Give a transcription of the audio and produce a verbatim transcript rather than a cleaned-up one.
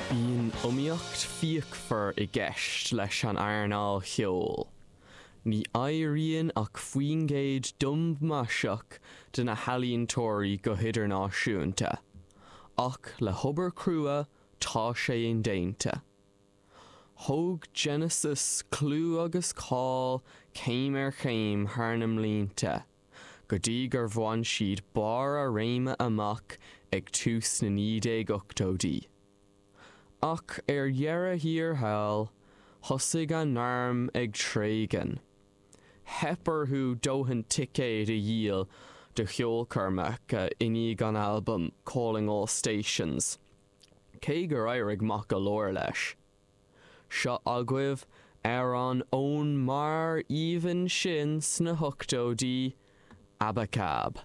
Bíonn iomaíocht fíochmhar i gceist leis an earnáil cheoil. Ní éiríonn ach faoin gcéad diombaiseach de na healaíontóirí go hidirnáisiúnta, ach le hobair chrua tá sé indéanta. Thóg Genesis clú agus cáil céim ar chéim thar na mblianta, go dtí gur bhain siad barr a réime amach ag tús na naoi déag ochtóidí. Ach ar dheireadh thiar thall, thosaigh a ngairm ag tréigean. Theip orthu dóthain ticéad a dhíol do cheolchoirmeacha i ndiaidh an albaim Calling All Stations, cé gur éirigh maith go leor leis. Seo agaibh amhrán ón mbarr aoibhinn sin sna hochtóidí, Abacab.